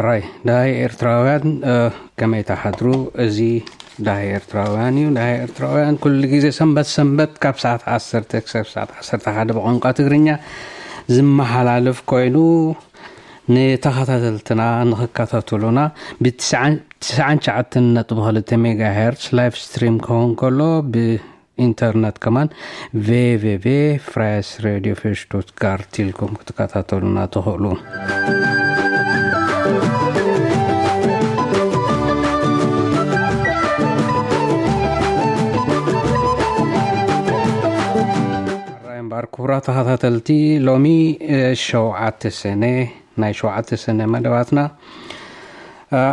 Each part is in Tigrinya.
ራይ ዳሃይ ኤርትራውያን፣ ከመይ ተሓድሩ? እዚ ዳሃይ ኤርትራውያን እዩ። ዳሃይ ኤርትራውያን ኩሉ ግዜ ሰንበት ሰንበት ካብ ሰዓት ዓሰርተ ክሳብ ሰዓት ዓሰርተ ሓደ ብቋንቋ ትግርኛ ዝመሓላለፍ ኮይኑ፣ ንተኸታተልትና ንኽከታተሉና ብትስዓን ትስዓን ትሽዓተን ነጥቢ ክልተ ሜጋ ሄርትስ ላይቭ ስትሪም ክኸውን ከሎ፣ ብኢንተርነት ከማን ቪ ቪ ቪ ፍራይስ ሬድዮ ፌሽ ዶት ጋርት ኢልኩም ክትከታተሉና ትኽእሉ። ራይ እምበኣር፣ ክቡራት ተኸታተልቲ፣ ሎሚ ሸውዓተ ሰነ ናይ ሸውዓተ ሰነ መደባትና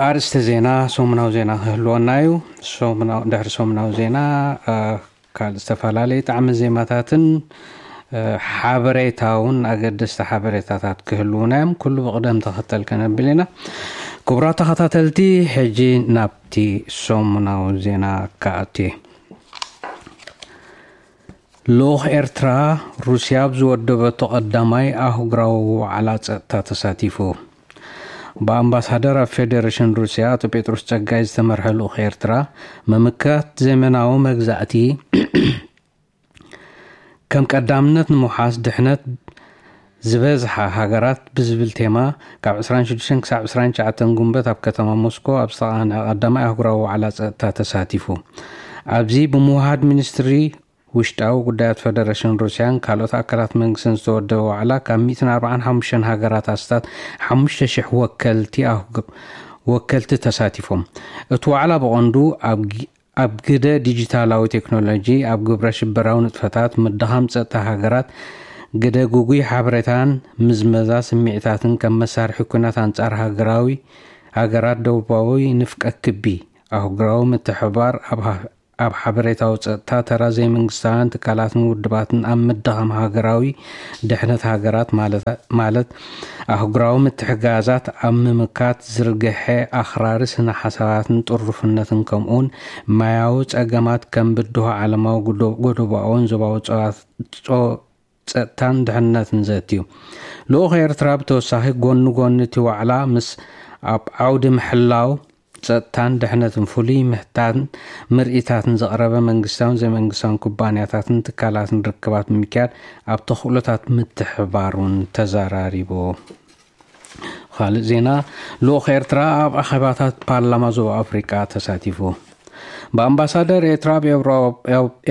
ኣርእስተ ዜና፣ ሰሙናዊ ዜና ክህልወና እዩ። ድሕሪ ሰሙናዊ ዜና ካልእ ዝተፈላለዩ ጣዕሚ ዜማታትን ሓበሬታውን ኣገደስቲ ሓበሬታታት ክህልውና እዮም። ኩሉ ብቕደም ተኸተል ከነብል ኢና። ክቡራት ተኸታተልቲ፣ ሕጂ ናብቲ ሰሙናዊ ዜና ክኣቱ። ልኡኽ ኤርትራ ሩስያ ኣብ ዝወደበቶ ቀዳማይ ኣህጉራዊ ዋዕላ ጸጥታ ተሳቲፉ። ብኣምባሳደር ኣብ ፌደሬሽን ሩስያ ኣቶ ጴጥሮስ ጸጋይ ዝተመርሐ ልኡኽ ኤርትራ፣ ምምካት ዘመናዊ መግዛእቲ ከም ቀዳምነት ንምውሓስ ድሕነት ዝበዝሓ ሃገራት ብዝብል ቴማ፣ ካብ ዕስራን ሽዱሽተን ክሳብ ዕስራን ትሽዓተን ጉንበት ኣብ ከተማ ሞስኮ ኣብ ዝተቓንዐ ቀዳማይ ኣህጉራዊ ዋዕላ ጸጥታ ተሳቲፉ። ኣብዚ ብምውሃድ ሚኒስትሪ ውሽጣዊ ጉዳያት ፈደረሽን ሩስያን ካልኦት ኣካላት መንግስትን ዝተወደበ ዋዕላ፣ ካብ ሚእትን ኣርባዓን ሓሙሽተን ሃገራት ኣስታት ሓሙሽተ ሽሕ ወከልቲ ኣህጉ-፣ ወከልቲ ተሳቲፎም። እቲ ዋዕላ ብቐንዱ ኣብ ግ-፣ ኣብ ግደ ዲጂታላዊ ቴክኖሎጂ፣ ኣብ ግብረ ሽበራዊ ንጥፈታት፣ ምድኻም ጸጥታ ሃገራት፣ ግደ ጉጉይ ሓበሬታን ምዝመዛ ስምዒታትን ከም መሳርሒ ኲናት ኣንጻር ሃገራዊ፣ ሃገራት ደቡባዊ ንፍቀ ክቢ፣ ኣህጉራዊ ምትሕብባር ኣብ ሃ-፣ ኣብ ሓበሬታዊ ጸጥታ፣ ተራ ዘይመንግስታውያን ትካላትን ውድባትን ኣብ ምድኻም ሃገራዊ ድሕነት ሃገራት ማለት፣ ማለት ኣህጉራዊ ምትሕጋዛት ኣብ ምምካት ዝርግሐ ኣኽራሪ ስነ ሓሳባትን ጥሩፍነትን፣ ከምኡውን ማያዊ ጸገማት ከም ብድሆ ዓለማዊ ጉዶ-፣ ጎደቦኣውን ዞባዊ ጸዋ-፣ ጾ-፣ ጸጥታን ድሕነትን ዘትዩ። ልኡኽ ኤርትራ ብተወሳኺ፣ ጎኒ ጎኒ እቲ ዋዕላ፣ ምስ ኣብ ዓውዲ ምሕላው ጸጥታን ድሕነትን ፍሉይ ምህታን ምርኢታትን ዘቕረበ መንግስታውን ዘይመንግስታውን ኩባንያታትን ትካላትን ርክባት ብምክያድ፣ ኣብ ተኽእሎታት ምትሕብባር እውን ተዘራሪቡ። ካልእ ዜና፣ ልኡኽ ኤርትራ ኣብ ኣኼባታት ፓርላማ ዞባ ኣፍሪቃ ተሳቲፉ። ብኣምባሳደር ኤርትራ ኣብ ኤውሮ-፣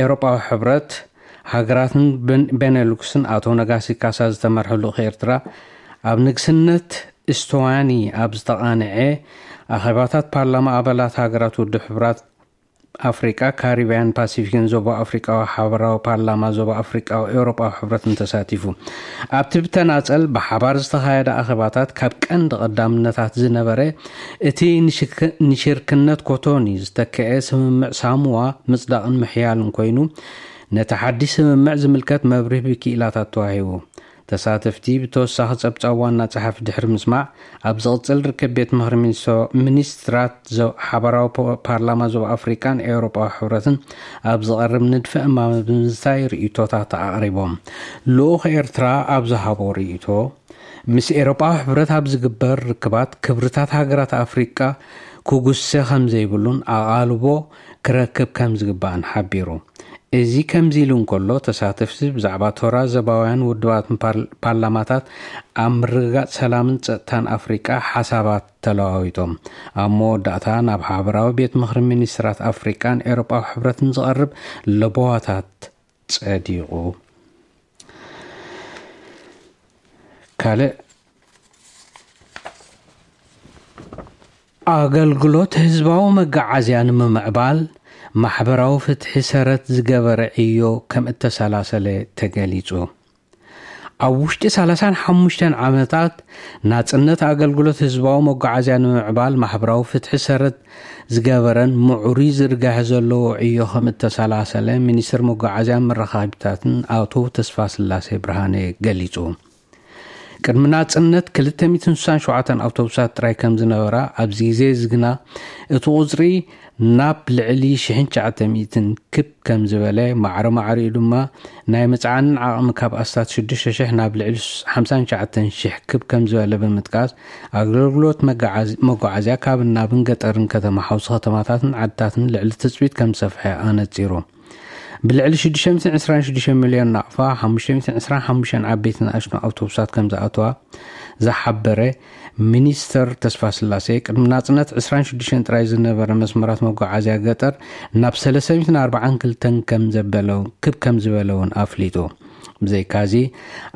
ኤውሮጳዊ ሕብረት፣ ሃገራትን በን-፣ ቤኔሉክስን ኣቶ ነጋሲ ካሳ ዝተመርሐ ልኡኽ ኤርትራ፣ ኣብ ንግስነት እስቶዋኒ ኣብ ዝተቓንዐ ኣኼባታት ፓርላማ ኣባላት ሃገራት ውድብ ሕብራት ኣፍሪቃ፣ ካሪብያን ፓሲፊክን ዞባ ኣፍሪቃዊ ሓበራዊ ፓርላማ ዞባ ኣፍሪቃዊ ኤውሮጳዊ ሕብረትን ተሳቲፉ። ኣብቲ ብተናጸል ብሓባር ዝተኻየደ ኣኼባታት፣ ካብ ቀንዲ ቀዳምነታት ዝነበረ፣ እቲ ንሽክ-፣ ንሽርክነት ኮቶኒ ዝተክአ ስምምዕ ሳሙዋ ምጽዳቕን ምሕያልን ኮይኑ፣ ነቲ ሓድሽ ስምምዕ ዝምልከት መብርሂ ብክኢላታት ተዋሂቡ። ተሳተፍቲ ብተወሳኺ ጸብጻብ ዋና ጸሓፊ ድሕሪ ምስማዕ፣ ኣብ ዝቕጽል ርክብ ቤት ምኽሪ ሚኒስትሮ-፣ ሚኒስትራት ዞ-፣ ሓባራዊ ፖ-፣ ፓርላማ ዞባ ኣፍሪቃን ኤውሮጳዊ ሕብረትን ኣብ ዝቐርብ ንድፈ እማመ ብምዝታይ ርእይቶታት ኣቕሪቦም። ልኡኽ ኤርትራ ኣብ ዝሃቦ ርእይቶ፣ ምስ ኤውሮጳዊ ሕብረት ኣብ ዝግበር ርክባት ክብርታት ሃገራት ኣፍሪቃ ክጉሰ ከም ዘይብሉን ኣቓልቦ ክረክብ ከም ዝግባእን ሓቢሩ። እዚ ከምዚ ኢሉ እንከሎ፣ ተሳተፍቲ ብዛዕባ ቶራ ዘባውያን ውድባትን ፓር-፣ ፓርላማታት ኣብ ምርግጋጽ ሰላምን ጸጥታን ኣፍሪቃ ሓሳባት ተለዋዊጦም። ኣብ መወዳእታ፣ ናብ ሓበራዊ ቤት ምኽሪ ሚኒስትራት ኣፍሪቃን ኤውሮጳዊ ሕብረትን ዝቐርብ ለበዋታት ጸዲቑ። ካልእ፣ ኣገልግሎት ህዝባዊ መጋዓዝያ ንምምዕባል ማሕበራዊ ፍትሒ ሰረት ዝገበረ ዕዮ ከም እተሰላሰለ ተገሊጹ። ኣብ ውሽጢ ሰላሳን ሓሙሽተን ዓመታት ናጽነት ኣገልግሎት ህዝባዊ መጓዓዝያ ንምምዕባል ማሕበራዊ ፍትሒ ሰረት ዝገበረን ምዕሩይ ዝርጋሐ ዘለዎ ዕዮ ከም እተሰላሰለ ሚኒስትር መጓዓዝያን መራኻቢታትን ኣቶ ተስፋስላሴ ብርሃነ ገሊጹ። ቅድሚ ናጽነት ክልተ ሚእትን ስሳን ሸውዓተን ኣውቶቡሳት ጥራይ ከም ዝነበራ፣ ኣብዚ ግዜ እዚ ግና እቲ ቁጽሪ ናብ ልዕሊ ሽሕን ትሽዓተ ሚእትን ክብ ከም ዝበለ፣ ማዕረ ማዕሪኡ ድማ ናይ ምጽዓንን ዓቕሚ ካብ ኣስታት ሽዱሽተ ሽሕ ናብ ልዕሊ ሓምሳን ትሽዓተን ሽሕ ክብ ከም ዝበለ ብምጥቃስ፣ ኣገልግሎት መጓዓዝ-፣ መጓዓዝያ ካብን ናብን ገጠርን ከተማ ሓውሲ ከተማታትን ዓድታትን ልዕሊ ትጽቢት ከም ዝሰፍሐ ኣነጺሩ። ብልዕሊ ሽዱሽተ ሚእትን ዕስራን ሽዱሽተ ሚልዮን ናቕፋ፣ ሓሙሽተ ሚእትን ዕስራን ሓሙሽተን ዓበይትን ንኣሽቱን ኣውቶቡሳት ከም ዝኣተዋ ዝሓበረ ሚኒስተር ተስፋ ስላሴ፣ ቅድሚ ናጽነት ዕስራን ሽዱሽተን ጥራይ ዝነበረ መስመራት መጓዓዝያ ገጠር ናብ ሰለስተ ሚእትን ኣርባዓን ክልተን ከም ዘበለ፣ ክብ ከም ዝበለ እውን ኣፍሊጡ። ብዘይካዚ፣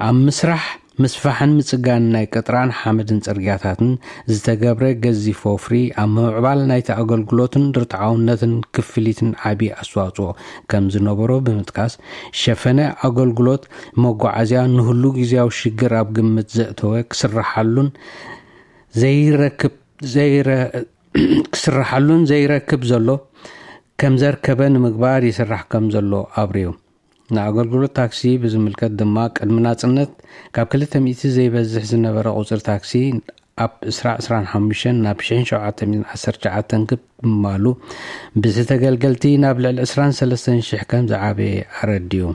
ኣብ ምስራሕ ምስፋሕን ምጽጋን ናይ ቅጥራን ሓመድን ጽርግያታትን ዝተገብረ ገዚፍ ወፍሪ፣ ኣብ ምምዕባል ናይቲ ኣገልግሎትን ርትዓውነትን ክፍሊትን ዓቢ ኣስተዋጽኦ ከም ዝነበሮ ብምጥቃስ፣ ሸፈነ ኣገልግሎት መጓዓዝያ ንህሉ ግዜያዊ ሽግር ኣብ ግምት ዘእተወ ክስርሓሉን ዘይረክብ፣ ዘይረ-፣ ክስርሓሉን ዘይረክብ ዘሎ ከም ዘርከበ ንምግባር ይስራሕ ከም ዘሎ ኣብሪዩ። ንኣገልግሎት ታክሲ ብዝምልከት ድማ፣ ቅድሚ ናጽነት ካብ ክልተ ሚእቲ ዘይበዝሕ ዝነበረ ቁጽሪ ታክሲ ኣብ ዕስራ ዕስራን ሓሙሽተን ናብ ሽሕን ሸውዓተ ሚእትን ዓሰርተ ትሽዓተን ክብ ምባሉ፣ ብቲ ተገልገልቲ ናብ ልዕሊ ዕስራን ሰለስተን ሽሕ ከም ዝዓበየ ኣረዲኡ።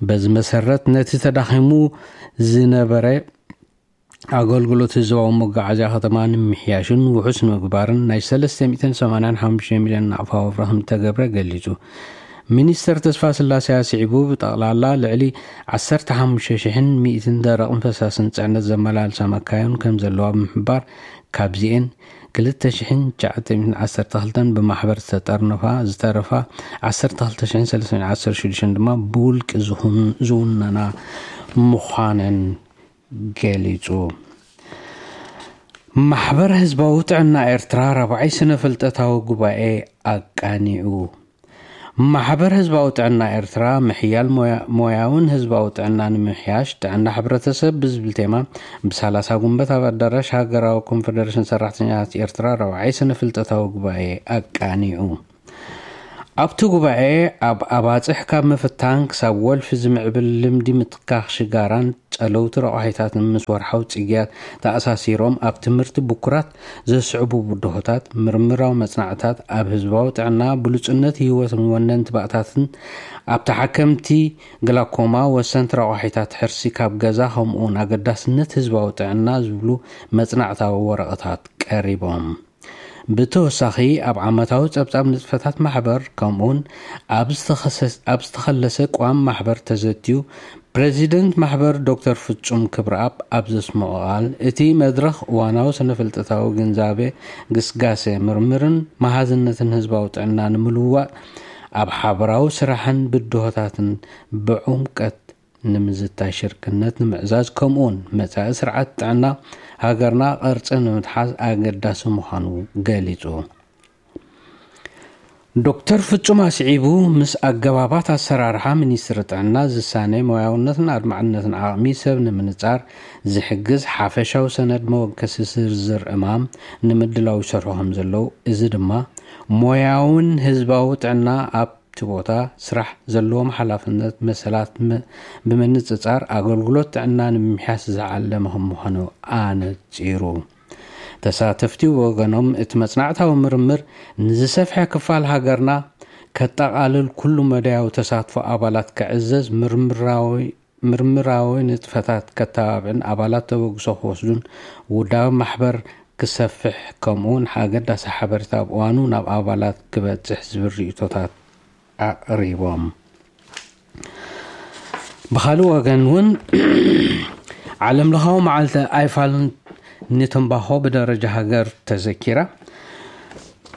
በዚ መሰረት፣ ነቲ ተዳኺሙ ዝነበረ ኣገልግሎት ህዝባዊ መጓዓዝያ ከተማ ንምምሕያሽን ውሑስ ንምግባርን ናይ ሰለስተ ሚእትን ሰማንያን ሓሙሽተ ሚልዮን ናቕፋ ወፍሪ ከም ዝተገብረ ገሊጹ። ሚኒስተር ተስፋ ስላሴ ኣስዒቡ፣ ብጠቕላላ ልዕሊ ዓሰርተ ሓሙሽተ ሽሕን ሚእትን ደረቕን ፈሳስን ጽዕነት ዘመላልሳ መካይን ከም ዘለዋ ብምሕባር፣ ካብዚኤን ክልተ ሽሕን ትሽዓተ ሚእትን ዓሰርተ ክልተን ብማሕበር ዝተጠርነፋ፣ ዝተረፋ ዓሰርተ ክልተ ሽሕን ሰለስተ ሚእትን ዓሰርተ ሽዱሽተን ድማ ብውልቂ ዝኹን-፣ ዝውነና ምዃነን ገሊጹ። ማሕበር ህዝባዊ ጥዕና ኤርትራ ራብዓይ ስነ ፍልጠታዊ ጉባኤ ኣቃኒዑ። ማሕበር ህዝባዊ ጥዕና ኤርትራ፣ ምሕያል ሞያ-፣ ሞያውን ህዝባዊ ጥዕና ንምምሕያሽ ጥዕና ሕብረተሰብ ብዝብል ቴማ፣ ብሰላሳ ጉንበት ኣብ ኣዳራሽ ሃገራዊ ኮንፈደሬሽን ሰራሕተኛታት ኤርትራ ራብዓይ ስነ ፍልጠታዊ ጉባኤ ኣቃኒዑ። ኣብቲ ጉባኤ፣ ኣብ ኣባጽሕ ካብ ምፍታን ክሳብ ወልፊ ዝምዕብል ልምዲ ምትካኽ ሽጋራን ጸለውቲ ረቋሒታትን ምስ ወርሓዊ ጽግያት ተኣሳሲሮም ኣብ ትምህርቲ ብኩራት ዘስዕቡ ብድሆታት፣ ምርምራዊ መጽናዕትታት፣ ኣብ ህዝባዊ ጥዕና፣ ብሉጽነት ህይወትን ወነንቲ ባእታትን፣ ኣብ ተሓከምቲ ግላኮማ፣ ወሰንቲ ረቋሒታት ሕርሲ ካብ ገዛ፣ ከምኡውን ኣገዳስነት ህዝባዊ ጥዕና ዝብሉ መጽናዕታዊ ወረቐታት ቀሪቦም። ብተወሳኺ፣ ኣብ ዓመታዊ ጸብጻብ ንጥፈታት ማሕበር፣ ከምኡውን ኣብ ዝተኸሰ-፣ ኣብ ዝተኸለሰ ቅዋም ማሕበር ተዘትዩ፣ ፕረዚደንት ማሕበር ዶክተር ፍጹም ክብረኣብ ኣብ ዘስምዖ ቃል፣ እቲ መድረኽ እዋናዊ ስነ-ፍልጠታዊ ግንዛቤ፣ ግስጋሴ፣ ምርምርን መሃዝነትን ህዝባዊ ጥዕና ንምልውዋጥ፣ ኣብ ሓበራዊ ስራሕን ብድሆታትን ብዕምቀት ንምዝታይ ሽርክነት ንምዕዛዝ፣ ከምኡውን መጻኢ ስርዓት ጥዕና ሃገርና ቅርጺ ንምትሓዝ ኣገዳሲ ምዃኑ ገሊጹ። ዶክተር ፍጹም ኣስዒቡ፣ ምስ ኣገባባት ኣሰራርሓ ሚኒስትሪ ጥዕና ዝሳነ ሞያውነትን ኣድማዕነትን ዓቕሚ ሰብ ንምንጻር ዝሕግዝ ሓፈሻዊ ሰነድ መወከሲ ዝርዝር ዕማም ንምድላው ይሰርሑ ከም ዘለዉ፣ እዚ ድማ ሞያውን ህዝባዊ ጥዕና ኣብ እቲ ቦታ ስራሕ ዘለዎም ሓላፍነት መሰላት ም-፣ ብምንጽጻር ኣገልግሎት ጥዕና ንምምሕያሽ ዝዓለመ ከም ምዃኑ ኣነጺሩ። ተሳተፍቲ ብወገኖም፣ እቲ መጽናዕታዊ ምርምር ንዝሰፍሐ ክፋል ሃገርና ከጠቓልል፣ ኩሉ መዳያዊ ተሳትፎ ኣባላት ክዕዘዝ፣ ምርምራዊ፣ ምርምራዊ ንጥፈታት ከተባብዕን ኣባላት ተበግሶ ክወስዱን፣ ውዳበ ማሕበር ክሰፍሕ፣ ከምኡውን ኣገዳሲ ሓበሬታ ኣብ እዋኑ ናብ ኣባላት ክበጽሕ ዝብል ርእይቶታት ኣቕሪቦም። ብኻልእ ወገን እውን፣ ዓለምለኻዊ መዓልቲ ኣይፋል ንትንባኾ ብደረጃ ሃገር ተዘኪራ።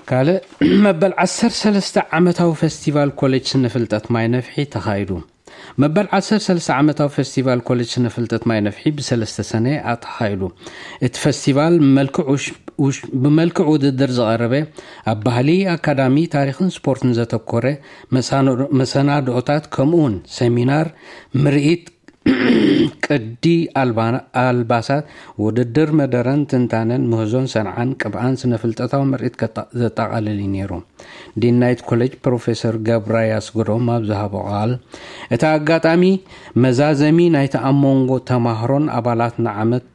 ካልእ፣ መበል ዓሰርተ ሰለስተ ዓመታዊ ፈስቲቫል ኮሌጅ ስነ ፍልጠት ማይ ነፍሒ ተኻይዱ። መበል ዓሰርተ ሰለስተ ዓመታዊ ፈስቲቫል ኮሌጅ ስነ ፍልጠት ማይ ነፍሒ ብሰለስተ ሰነ ኣተኻይዱ። እቲ ፈስቲቫል መልክዕ ውሽ-፣ ውሽ-፣ ብመልክዕ ውድድር ዝቐረበ፣ ኣብ ባህሊ፣ ኣካዳሚ፣ ታሪኽን ስፖርትን ዘተኮረ መሳኖ-፣ መሰናድኦታት፣ ከምኡውን ሰሚናር፣ ምርኢት፣ ቅዲ ኣልባሳት፣ ውድድር መደረን ትንታነን፣ ምህዞን ሰንዓን ቅብኣን ስነ ፍልጠታዊ ምርኢት ዘጠቓልል እዩ ነይሩ። ዲን ናይቲ ኮሌጅ ፕሮፌሰር ገብራይ ኣስገዶም ኣብ ዝሃቦ ቃል፣ እቲ ኣጋጣሚ መዛዘሚ ናይቲ ኣብ መንጎ ተማሃሮን ኣባላት ንዓመት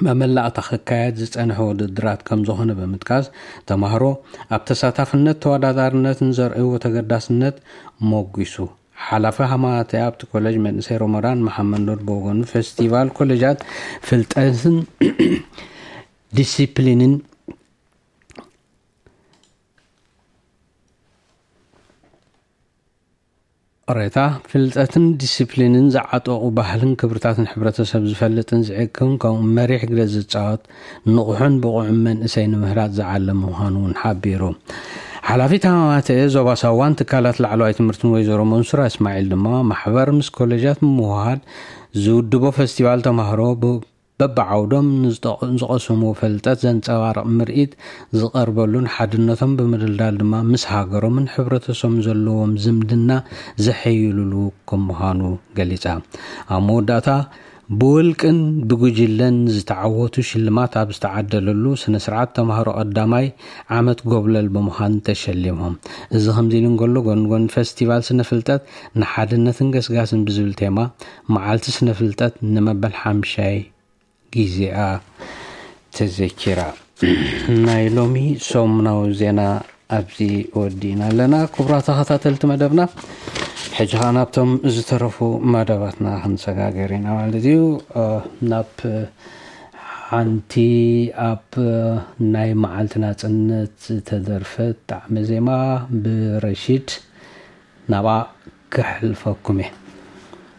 መመላእታ ክካየድ ዝጸንሐ ውድድራት ከም ዝኾነ ብምጥቃስ፣ ተማሃሮ ኣብ ተሳታፍነት ተወዳዳርነትን ዘርእይዎ ተገዳስነት ሞጒሱ። ሓላፊ ሃማተ ኣብቲ ኮሌጅ መንእሰይ ሮሞዳን መሓመድ ኑር ብወገኑ፣ ፈስቲቫል ኮሌጃት ፍልጠትን ዲሲፕሊንን ሬታ ፍልጠትን ዲሲፕሊንን ዝዓጠቑ ባህልን ክብርታትን ሕብረተሰብ ዝፈልጥን ዝዕቅን ከምኡ መሪሕ ግደ ዝፃወት ንቑሕን ብቑዕን መንእሰይ ንምህራፅ ዝዓለም ምዃኑ እውን ሓቢሩ። ሓላፊት ሃማተ ዞባ ሳዋን ትካላት ላዕለዋይ ትምህርትን ወይዘሮ መንሱራ እስማዒል ድማ ማሕበር ምስ ኮሌጃት ምውሃድ ዝውድቦ ፈስቲቫል ተማህሮ በብዓውዶም ንዝቐስምዎ ፍልጠት ዘንጸባርቕ ምርኢት ዝቐርበሉን ሓድነቶም ብምድልዳል ድማ ምስ ሃገሮምን ሕብረተሰቦምን ዘለዎም ዝምድና ዘሐይሉሉ ከም ምዃኑ ገሊጻ። ኣብ መወዳእታ ብውልቅን ብጉጅለን ዝተዓወቱ ሽልማት ኣብ ዝተዓደለሉ ስነ ስርዓት ተማሃሮ ቀዳማይ ዓመት ጎብለል ብምዃን ተሸሊሞም። እዚ ከምዚ ኢሉ እንከሎ ጎንጎን ፈስቲቫል ስነ ፍልጠት ንሓድነትን ገስጋስን ብዝብል ቴማ መዓልቲ ስነ ፍልጠት ንመበል ሓምሻይ ግዜኣ ተዘኪራ። ናይ ሎሚ ሰሙናዊ ዜና ኣብዚ ወዲእና ኣለና። ክቡራት ተኸታተልቲ መደብና፣ ሕጂ ኸዓ ናብቶም ዝተረፉ መደባትና ክንሰጋገር ኢና ማለት እዩ። ናብ ሓንቲ ኣብ ናይ መዓልቲ ናጽነት ዝተደርፈት ጣዕመ ዜማ ብረሺድ ናብኣ ክሕልፈኩም እየ።